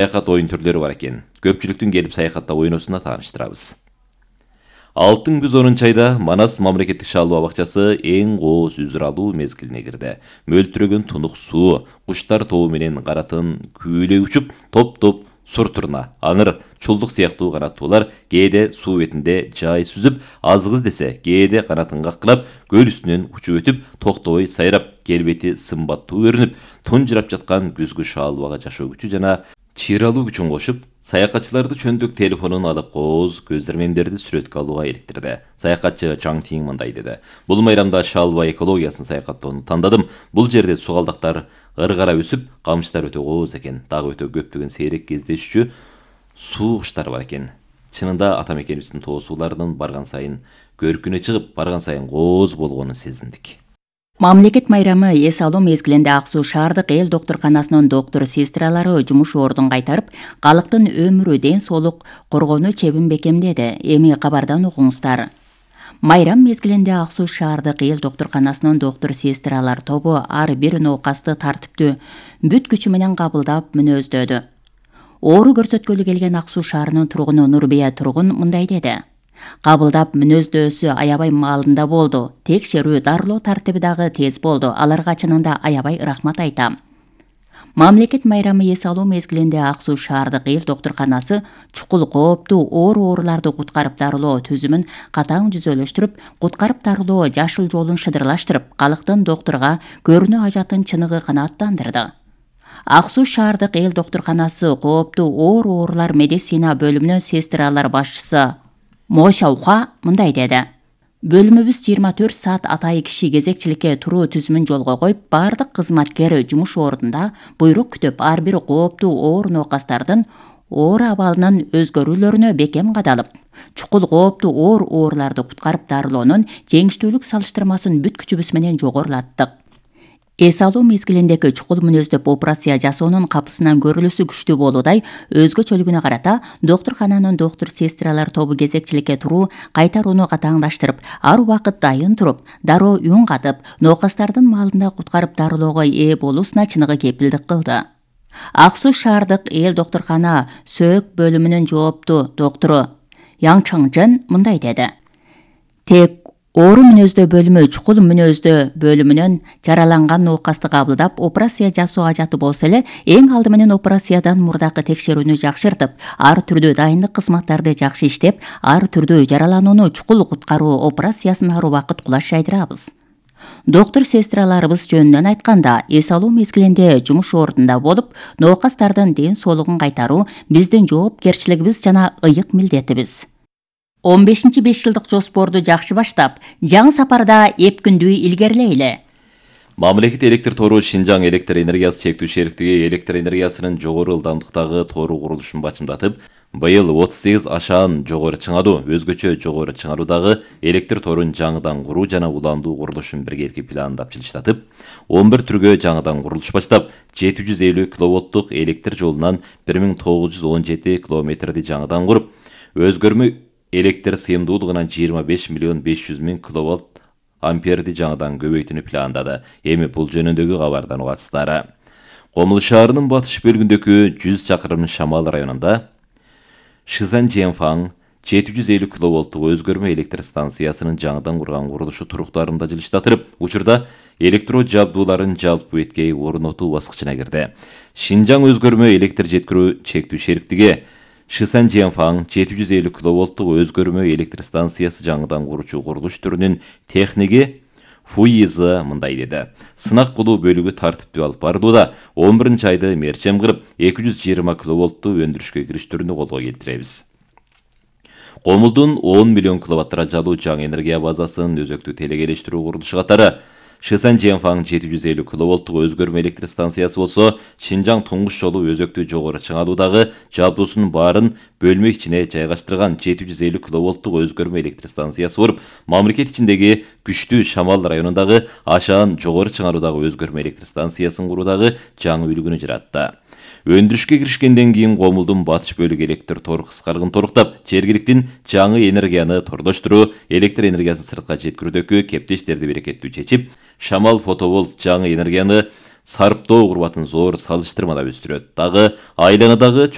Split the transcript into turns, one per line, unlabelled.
Саякат оюн түрлөрү бар экен. Көпчүлүктүн келип саякаттап ойносуна тааныштырабыз. Алтын күз 10 айда Манас мамлекеттик шаалуу бакчасы эң кооз үзүр алуу мезгилине кирди. Мөлтүрөгөн тунук суу, куштар тобу менен каратын күүлөй учуп, топ-топ сур турна, аңыр, чулдук сыяктуу канаттуулар кээде суу бетинде жай сүзүп, азгыз десе, кээде канатын каккылап, көл үстүнөн учуп өтүп, токтобой сайрап, келбети сымбаттуу көрүнүп, тунжурап жаткан күзгү шаалбага жашоо күчү жана чыйралуу күчүн кошуп, саякатчыларды чөндүк телефонун алып кооз көзөрмемдерди сүрөткө алууга иликтирди. Саякатчы Чаң Тиң мындай деди: "Бул майрамда Шаалба экологиясын саякаттоону тандадым. Бул жерде сугалдактар ыргара өсүп, камыштар өтө кооз экен. Дагы өтө көптөгөн сейрек кездешчү суу куштар бар экен. Чынында ата мекенибиздин тоо сууларынын барган сайын көркүнө чыгып, барган сайын кооз болгонун сезиндик."
Мамлекет майрамы эс алуу мезгилинде Ак Суу шаардык эл доктурканасынын доктур-сестралары жумуш ордун кайтарып, калктын өмүрү, ден соолук коргоону чебин бекемдеди. Эми кабардан угуңуздар. Майрам мезгилинде Ак Суу шаардык эл доктурканасынын доктур-сестралар тобу ар бир ноокасты тартиптүү бүт күчү менен кабылдап мүнөздөдү. Оору көрсөткөлү келген Ак Суу шаарынын тургуну Нурбия Тургун мындай деди: "Кабылдап мүнөздөөсү аябай маалында болду. Текшерүү, дарылоо тартиби дагы тез болду. Аларга чынында аябай рахмат айтам." Мамлекет майрамы эс алуу мезгилинде Ак Суу шаардык эл доктурканасы чукул кооптуу ооруларды куткарып дарылоо түзүмүн катаң жүзөлөштүрүп, куткарып дарылоо жашыл жолун шыдырлаштырып, калктын доктурга көрүнө ажатын чыныгы канааттандырды. Ак Суу шаардык эл доктурканасы кооптуу оорулар медицина бөлүмүнүн сестралар башчысы Мо Шауха мындай деди: "Бөлүмүбүз 24 саат атайы киши кезекчиликке туруу түзүмүн жолго коюп, бардык кызматкер жумуш ордунда буйрук күтүп, ар бир кооптуу оор ноокастардын оору абалынын өзгөрүүлөрүнө бекем кадалып, чукул кооптуу ооруларды куткарып дарылоонун жеңиштүүлүк салыштырмасын бүт күчүбүз менен жогорулаттык. Эс алуу мезгилиндеги чукул мүнөздөп операция жасоонун капысынан көрүлүүсү күчтүү болуудай, өзгөчөлүгүнө карата доктуркананын доктур-сестралар тобу кезекчиликке туруу кайтарууну катаңдаштырып, ар убакыт дайын туруп, дароо үн катып, ноокастардын маалында куткарып дарылоого ээ болуусуна чыныгы кепилдик кылды. Ак Суу шаардык эл доктуркана сөөк бөлүмүнүн жооптуу доктору Яң Чаңжен мындай деди: "Тек оору мүнөздөө бөлүмү чукул мүнөздөө бөлүмүнөн жараланган ноокасты кабылдап, операция жасоо ажаты болсо эле, эң алды менен операциядан мурдакы текшерүүнү жакшыртып, ар түрдүү дайындык кызматтарды жакшы иштеп, ар түрдүү жараланууну чукул куткаруу операциясын ар убакыт кулаш жайдырабыз. Доктур-сестраларыбыз жөнүнөн айтканда, эс алуу мезгилинде жумуш ордунда болуп, ноокастардын ден соолугун кайтаруу биздин жоопкерчилигибиз жана ыйык милдетибиз. 15 5-жылдык жоспорду жакшы баштап, жаңы сапарда эпкүндүү илгерилейли."
Мамлекет электр тору Шинжаң электр энергиясы чектүү шериктиги электр энергиясынын жогору ылдамдыктагы тору курулушун бачымдатып, быйыл 38 ашаан жогору чыңалуу, өзгөчө жогору чыңалуудагы электр торун жаңыдан куруу жана уландуу курулушун биргеликти пландап жылыштатып, 11 түргө жаңыдан курулуш баштап, 750 киловолттук электр жолунан 1917 километрди жаңыдан куруп, өзгөрмө электр сыйымдуулугунан 25 миллион 500 миң киловатт амперди жаңыдан көбөйтүүнү пландады. Эми бул жөнүндөгү кабардан угасыздар. Комул шаарынын батыш бөлүгүндөгү 100 чакырым Шамал районунда Шизан Женфаң 750 киловолттук өзгөрмө электр станциясынын жаңыдан курган курулушу туруктарында жылыштатылып, учурда электро жабдууларын жалпы беткей орнотуу баскычына кирди. Шинжаң өзгөрмө электр жеткирүү чектүү шериктиги Шисан Женфаң 750 киловолттук өзгөрмө электр станциясы жаңыдан куручу курулуш түрүнүн техниги Фуизы мындай деди: "Сынак кылуу бөлүгү тартиптүү алып барылууда. 11 айды мерчем кылып, 220 киловолттуу өндүрүшкө кириштүүнү колго келтиребиз." Комулдун 10 миллион киловатт даражалуу жаңы энергия базасынын өзөктүү телекелештирүү курулушу катары Шисан Женфаң 750 киловолттук өзгөрмө электр станциясы болсо, Шинжаң туңгуч жолу өзөктүү жогору чыңалуудагы жабдуусунун баарын бөлмө ичине жайгаштырган 750 киловолттук өзгөрмө электр станциясы болуп, мамлекет ичиндеги күчтүү Шамал районундагы ашаан жогору чыңалуудагы өзгөрмө электр станциясын куруудагы жаңы үлгүнү жаратты. Өндүрүшкө киришкенден кийин Комулдун батыш бөлүгү электр тор кыскаргын торуктап, жергиликтин жаңы энергияны тордоштуруу, электр энергиясын сыртка жеткирүүдөгү кептештерди берекеттүү чечип, Шамал фотоволт жаңы энергияны сарптоо курбатын зор салыштырмада өстүрөт. Дагы айланадагы